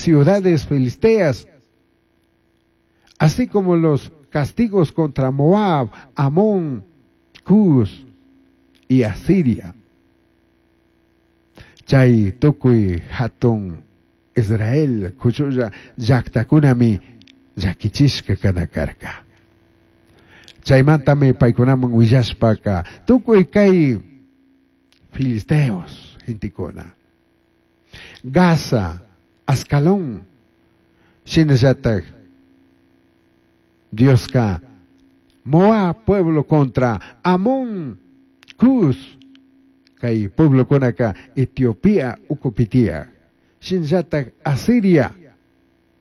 ciudades filisteas, así como los castigos contra Moab, Amón, Cus y Asiria. Chay tukuy hatun Israel kuchulla llaqtakunami llakichishka kana karka. Chaymantami paykunaman willashpaka tukuy kay filisteos gentekuna. Gaza, Ascalón, shinallatak Dioska Moab pueblo contra Amón, Cus, kay pueblokunaka Etiopía ukupi tiyaj, shinallatak Asiria,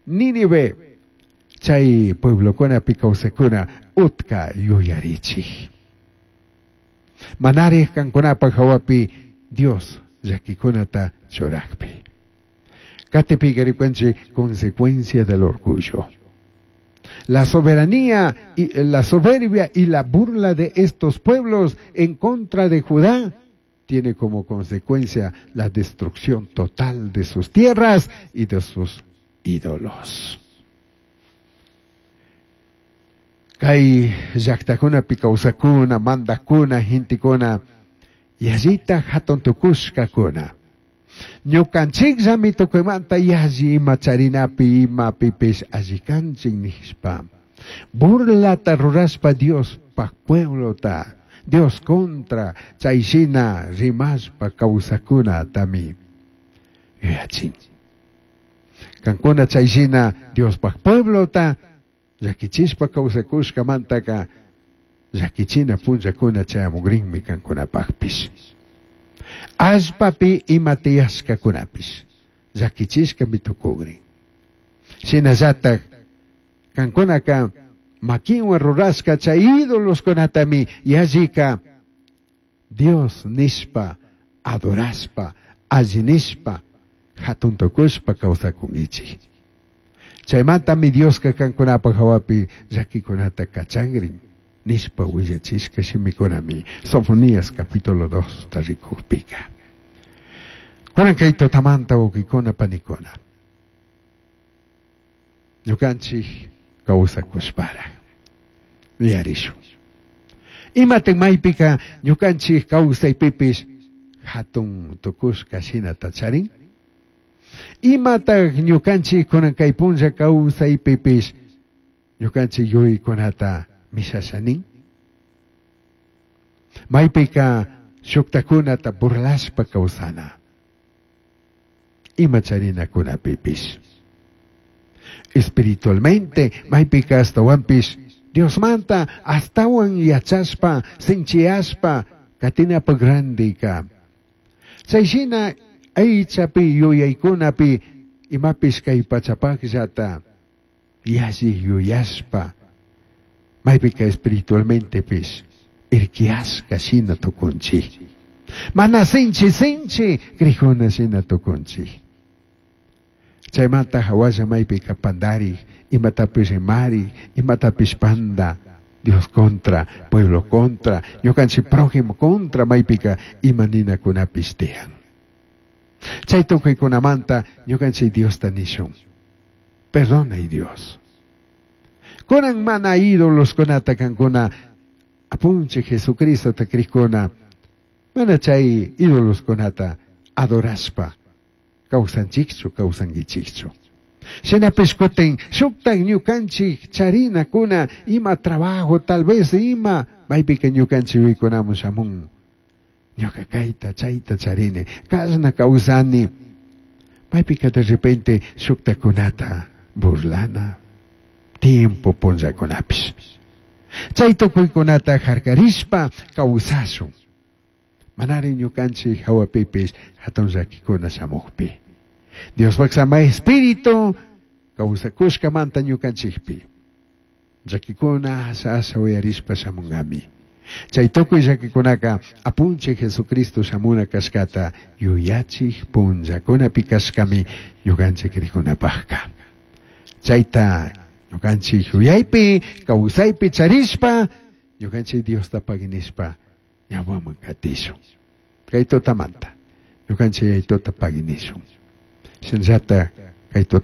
Nínive, chay pueblokunapi kawsakuna utka yuyarichik. Manarij kankunapaj hawapi Dios llakikunata churakpi. Katipi rikunchik consecuencia del orgullo. La soberanía y la soberbia y la burla de estos pueblos en contra de Judá tiene como consecuencia la destrucción total de sus tierras y de sus ídolos. Kay llaqtakunapi kawsakuna, mandakuna, gentekuna, yallita hatun tukushkakuna. Ñukanchikllami tukuymanta yalli ima charinapi imapipish alli kanchik nishpa. Burlata rurashpa Diospaj pueblota, Dios contra chayshina rimashpa kawsakunatami yuyachin. Kankuna chayshina Diospaj pueblota llakichishpa kawsakushkamantaka llakichina punllakuna chayamukrinmi kankunapajpish. Allpapi ima tiyashkakunapish llakichishkami tukukrin. Shinallatak kankunaka makinwan rurashka chay ídoloskunatami yallika Dios nishpa adorashpa alli nishpa hatun tukushpa kawsakunkichik. Chaymantami Dioska kankunapaj hawapi llakikunata kachakrin nishpa willachishka shimikunami Sofonías capítulo 2 rikukpika. Kunan kay tutamanta wawqikuna panikuna. Ñukanchik kawsakushpara yuyarishun. Imatik maypika ñukanchik kawsaypipish hatun tukushka shinata charin? Imatak ñukanchik kunan kay punlla kawsaypipish ñukanchik yuyaykunata mishasha nin? Maypika shuktakunata burlashpa kawsana. Ima charinakunapipish. Espiritualmente, maypika ashtawanpish Diosmanta astawan yachashpa, sinchiyashpa, katinapaj randika. Chayshina aychapi yuyaykunapi imapish kay pachapajllata yalli yuyashpa, maypika espiritualmentepish irkiyashka shina tukunchik. Mana sinchi sinchi crijuna shina tukunchik. Chaymanta hawalla maypika pandarik, imatapish rimarik, imatapish panda, Dios contra, pueblo contra, ñukanchik prójimo contra, maypika ima ninakunapish tiyan. Chay tukuykunamanta ñukanchik Diosta nishun. Perdonay Dios. Kunan mana ídoloskunata kankuna apunchik Jesucristota krikuna, mana chay ídoloskunata adorashpa kawsanchikchu, kawsankichikchu. Shinapish kutin shuktak ñukanchik charinakuna ima trabajo tal vez ima maypika ñukanchik yuyaykunamun shamun. Ñuka kayta chayta charini, kashna kawsani. Maypika de repente shuktakunata burlana tiempo punllakunapish. Chay tukuykunata harkarishpa kawsashun. Manari ñukanchik hawapipish hatun llakikuna shamukpi. Diospaj samay espíritu kawsakushkamanta ñukanchikpi. Llakikuna asha asha uyarishpa shamunkami. Chay tukuy llakikunaka apunchik Jesucristo shamuna kashkata yuyachik punllakunapi kashkami ñukanchik rikunapajka. Chayta ñukanchik yuyaypi kawsaypi charishpa ñukanchik Diosta paginishpa ñawaman katishun. Kay tutamanta ñukanchik yayituta paginishun. Shinallata kay tuta